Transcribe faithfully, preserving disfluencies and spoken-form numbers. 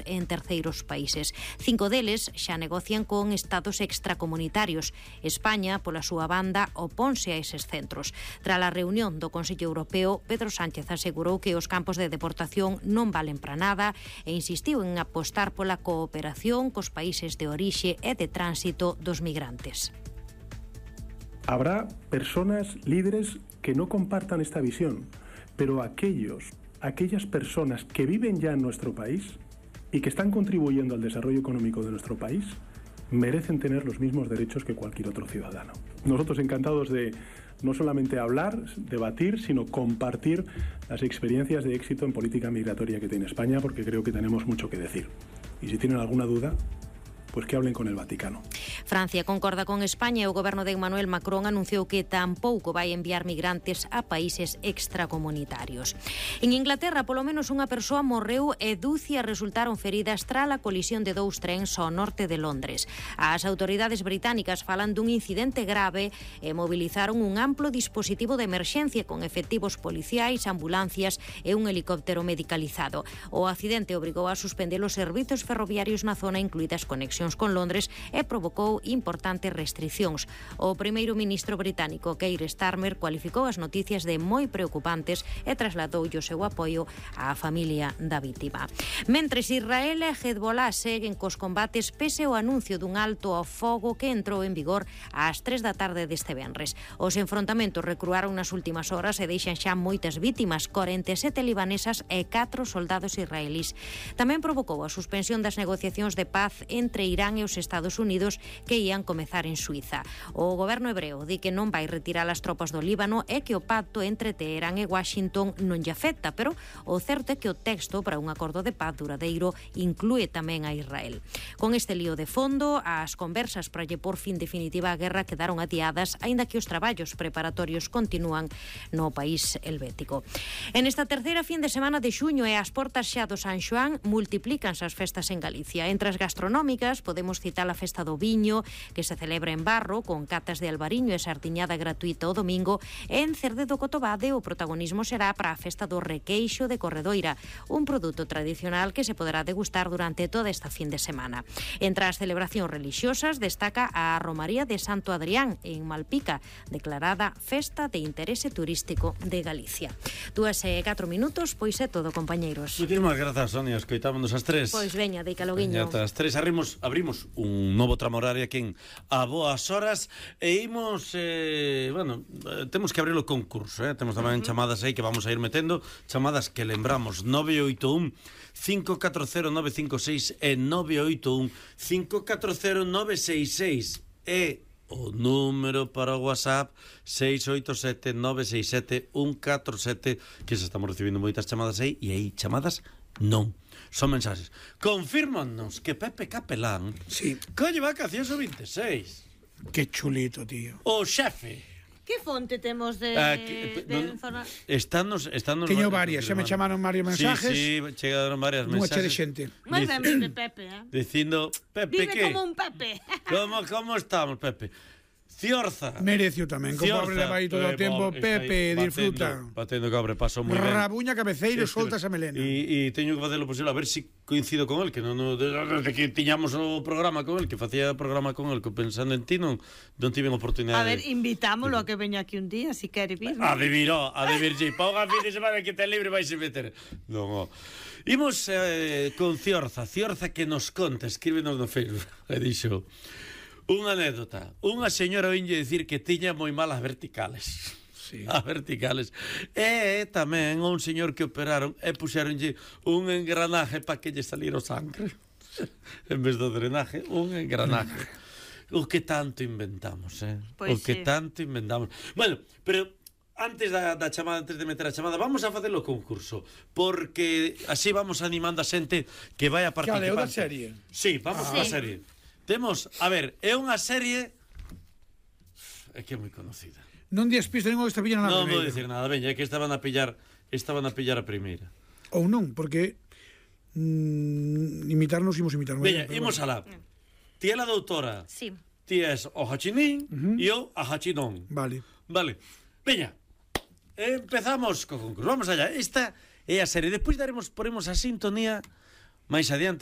en terceiros países. Cinco deles xa negocian con estados extracomunitarios. España, pola súa banda, oponse a eses centros. Tras a reunión do Consello Europeo, Pedro Sánchez asegurou que os campos de deportación non valen para nada e insistiu en apostar pola cooperación cos países de orixe e de tránsito dos migrantes. Habrá personas, líderes, que no compartan esta visión, pero aquellos, aquellas personas que viven ya en nuestro país y que están contribuyendo al desarrollo económico de nuestro país, merecen tener los mismos derechos que cualquier otro ciudadano. Nosotros encantados de no solamente hablar, debatir, sino compartir las experiencias de éxito en política migratoria que tiene España, porque creo que tenemos mucho que decir. Y si tienen alguna duda, pues que hablen con el Vaticano. Francia concorda con España e o goberno de Emmanuel Macron anunciou que tampouco vai enviar migrantes a países extracomunitarios. En Inglaterra, polo menos unha persoa morreu e dúcias resultaron feridas tras a colisión de dous trens ao norte de Londres. As autoridades británicas falan dun incidente grave e movilizaron un amplo dispositivo de emerxencia con efectivos policiais, ambulancias e un helicóptero medicalizado. O accidente obrigou a suspender os servizos ferroviarios na zona, incluídas conexións con Londres, e provocou importantes restricións. O primeiro ministro británico, Keir Starmer, cualificou as noticias de moi preocupantes e trasladoulle o seu apoio á familia da vítima. Mentres, Israel e Hezbollah seguen cos combates pese ao anuncio dun alto ao fogo que entrou en vigor ás tres da tarde deste venres. Os enfrontamentos recruaron nas últimas horas e deixan xa moitas vítimas, corenta e sete libanesas e catro soldados israelís. Tamén provocou a suspensión das negociacións de paz entre Irán e os Estados Unidos que ían comezar en Suiza. O goberno hebreo di que non vai retirar as tropas do Líbano e que o pacto entre Teherán e Washington non lle afecta, pero o certo é que o texto para un acordo de paz duradeiro inclúe tamén a Israel. Con este lío de fondo, as conversas para lle por fin definitiva a guerra quedaron adiadas, aínda que os traballos preparatorios continúan no país helvético. En esta terceira fin de semana de xuño e as portas xa do San Xoán multiplícanse as festas en Galicia. Entre as gastronómicas podemos citar a festa do viño, que se celebra en Barro, con catas de albariño e sardiñada gratuita o domingo, e en Cerde do Cotobade o protagonismo será para a festa do requeixo de Corredoira, un produto tradicional que se poderá degustar durante toda esta fin de semana. Entre as celebracións religiosas destaca a Romaría de Santo Adrián en Malpica, declarada Festa de Interese Turístico de Galicia. Dúas e catro minutos, pois é todo, compañeiros. Moitísimas grazas, Sonia, escoitámonos as tres. Pois veña, deica loguiño. Veña, as tres abrimos, abrimos un novo tramo horario aquí en A Boas Horas e imos, eh, bueno, temos que abrir o concurso, eh? Temos tamén uh -huh. chamadas aí que vamos a ir metendo, chamadas que lembramos, nove oito un cinco catro cero nove cinco seis e nove oito un cinco catro cero nove seis seis e o número para o WhatsApp seis oito sete nove seis sete un catro sete, que se estamos recibindo moitas chamadas aí, e aí chamadas non, son mensaxes. Confírmanos que Pepe Capelán sí. colle vacacións o veintiséis. Que chulito, tío. O xefe. Que fonte temos de, ah, que, de no, zona? Estános, estános Teño varias, xa me chamaron varios mensajes. Sí, sí, chegaron varias mensajes. mensajes. de xente. Moi ben de Pepe, eh? Dicindo, Pepe, vive que? como un Pepe. Como, como estamos, Pepe? Ciorza. Merecio tamén, como pobre leva aí todo o tempo. Pepe, disfruta. Batendo cabre, paso moi ben. Rabuña cabeceiro, soltas a melena. E teño que facer o posible, a ver se si coincido con el, que non, no, desde que tiñamos o programa con el, que facía o programa con el, que pensando en ti non, non tiven oportunidade. A ver, invitámoslo a que veña aquí un día, si quere vir. A de vir, a de vir, si pauga fin de semana que ten libre vais a meter. Non, oh. Imos eh, con Ciorza, Ciorza que nos conta, escríbenos no Facebook, e dixo... Unha anécdota. Unha señora oínlle dicir que tiña moi malas verticales. Sí. As verticales. E tamén un señor que operaron e puxeronlle un engranaje para que lle saliera o sangre. En vez do drenaje, un engranaje. O que tanto inventamos, eh? Pois o que sí. tanto inventamos. Bueno, pero... Antes da, da chamada, antes de meter a chamada, vamos a facer o concurso, porque así vamos animando a xente que vai a participar. Que é da serie? Sí, vamos ah. a serie. Temos, a ver, é unha serie é que é moi conocida. Non días pista ningún esta pillan na primeira. Non vou primeira. dicir nada, veña, é que estaban a pillar, estaban a pillar a primeira. Ou non, porque mm, imitarnos imos imitar. Veña, imos alá. Ti é a doutora. Sí. Ti és o Hachinín uh-huh. e eu a Hachinón. Vale. Vale. Veña. Empezamos co concurso. Vamos allá. Esta é a serie. Despois daremos, poremos a sintonía máis adiante.